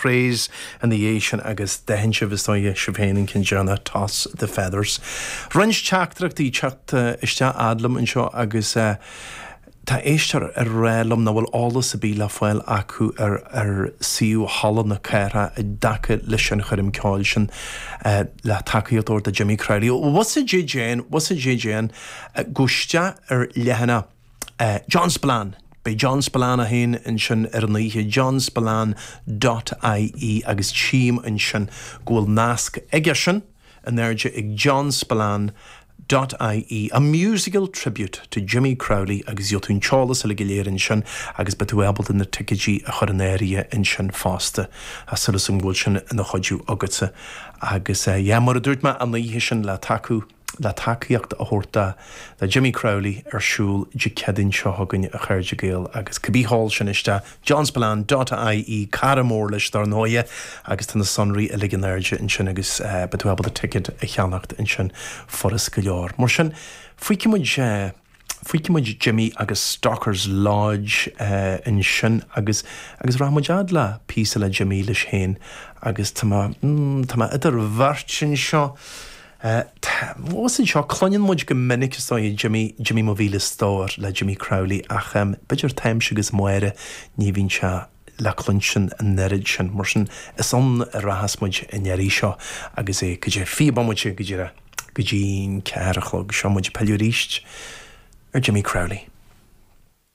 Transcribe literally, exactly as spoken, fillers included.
Craze ina dhiaidh sin agus d'aithin sibh is dóigh sibh féin an ceann deireanach Toss the Feathers. Roinnt teachtaireachtaí teacht isteach fhad liom anseo agus uh, Tá éisteoir ag rá liom nach bhfuil eolas ar bith le fáil acu ar ar suíomh Halla na Cathrach i dtaca leis an choirm ceoil sin uh, le tacaíocht a thabhairt do Jimmy Crowley. Was a J Jane, was a J Jane, uh, gabh isteach ar leathanach uh, John Spillane. Beidh John Spillane féin ansin ar an oíche johnspillane.ie agus tchím ansin go bhfuil nasc aige sin in airde ag John Spillane. .ie a musical tribute to Jimmy Crowley agus gheobhaidh tú an t-eolas uilig go léir ansin agus beidh tú ábalta na ticéidí a chur in áirithe ansin fosta a súil agam go bhfuil sin ina chuidiú agatsa agus uh, yeah, mar a dúirt mé an oíche sin le tacú le tacaíocht a thabhairt do Jimmy Crowley ar siúl Dé Céadaoin seo chugainn a chairde Gael agus cibé hall sin isteach johnspillane.ie cara mór leis dar ndóigh agus tá na sonraí uilig in airde ansin agus uh, beidh tú ábalta ticket a cheannacht ansin furast go leor. Mar sin feicfidh muid uh, Feicfidh muid Jimmy agus Stockers Lodge uh, ansin agus agus rachaidh muid le píosa le Jimmy leis féin agus tá mm, tá idir bheirt anseo. Uh, seo cluineann muid go minic is dóigh Jimmy Jimmy mo mhíle stór le Jimmy Crowley ach um, b'fhéidir táimse agus Máire ní bhíonn sé le cluinstin an oiread sin mar sin is ann a rachas muid an iarraidh seo agus é go dtí fiche bomaite go dtí go dtí ceathair a chlog seo muid pilleadh arís ar Jimmy Crowley.